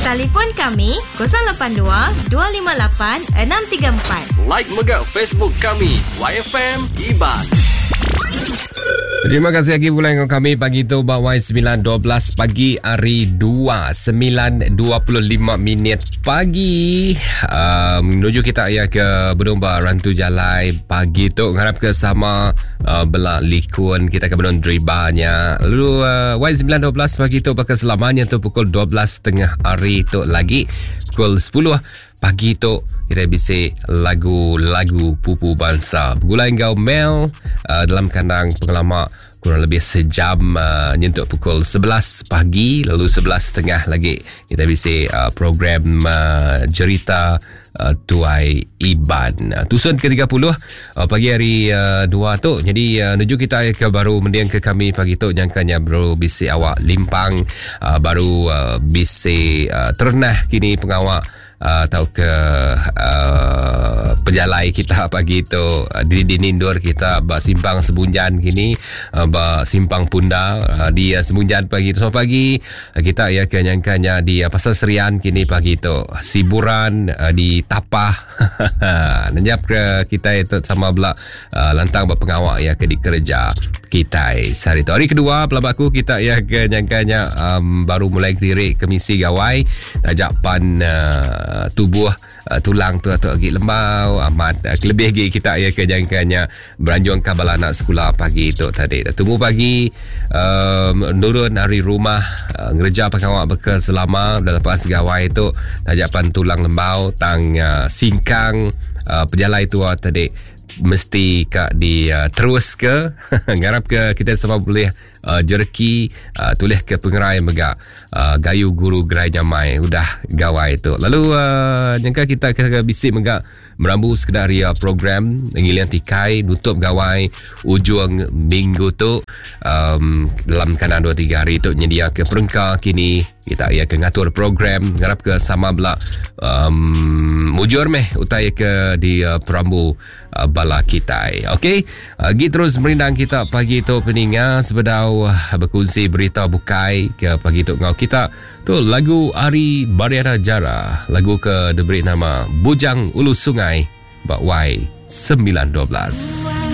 Talipun kami 082 258 634. Like mega Facebook kami YFM Iban. Terima kasih lagi pulai dengan kami pagi tu ba Y9.12 pagi hari 2 9.25 minit pagi um, menuju kita ya ke Bedung ba Rantu Jalai pagi tu ngarap ke sama uh, bela likun kita ke benung dribanya lalu uh, Y9.12 pagi tu bakal selamanya tu pukul 12.30 hari tu lagi pukul 10 pagi tu kita bisi lagu-lagu pupu bansa begulai enggau Mel uh, dalam kandang pengelama kurang lebih sejam uh, nyentuk pukul 11 pagi lalu 11.30 lagi kita bisi uh, program uh, jerita uh, Tuai Iban. Uh, tusun ke-30 uh, pagi hari uh, dua tu. Jadi uh, nuju kita ke baru mending ke kami pagi tu nyangkanya baru bisi awak limpang uh, baru uh, bisi uh, terenah kini pengawak uh, tau ke uh, pejalai kita pagi tu uh, di di nindur kita ba simpang Sebunjan kini uh, ba simpang Punda uh, di uh, Sebunjan pagi tu. So pagi uh, kita ya ke nyangkanya di uh, Pasar Serian kini pagi tu Siburan uh, di Tapah nenyap ke kita itu sama bela uh, lantang ba pengawak ya ke dikereja kita sehari tu. Hari kedua pelaba aku kita ya ke nyangkanya um, baru mulai kediri ke misi gawai tajak pan uh, tubuh uh, tulang tu atau agi lembau amat uh, kelebih lagi kita ya ke nyangkanya beranjung ke bala anak sekolah pagi tu tadi. Tunggu pagi um, nurun hari rumah uh, ngereja pengawak bekal selama dah lepas gawai tu tajak pan tulang lembau tang uh, singkang uh, pejalai tua tadi mesti ka di uh, terus ke ngarap ke kita sama boleh uh, jereki uh, tulis ke pengerai mega uh, gayu guru gerai nyamai udah gawai tu lalu uh, nyangka kita ke bisi mega merambu sekedar ria program ngilian tikai nutup gawai ujung minggu tu um, dalam kanan 2 3 hari tu nyedia ke perengka kini kita ia ke ngatur program ngarap ke sama bela um, mujur meh utai ke di uh, perambu uh, bala kitai. Okey, uh, gi terus merindang kita pagi tu peninga sebedau uh, berkongsi berita bukai ke pagi tu ngau kita. Tu lagu Ari Bariana Jara, lagu ke diberi nama Bujang Ulu Sungai ba Y 912.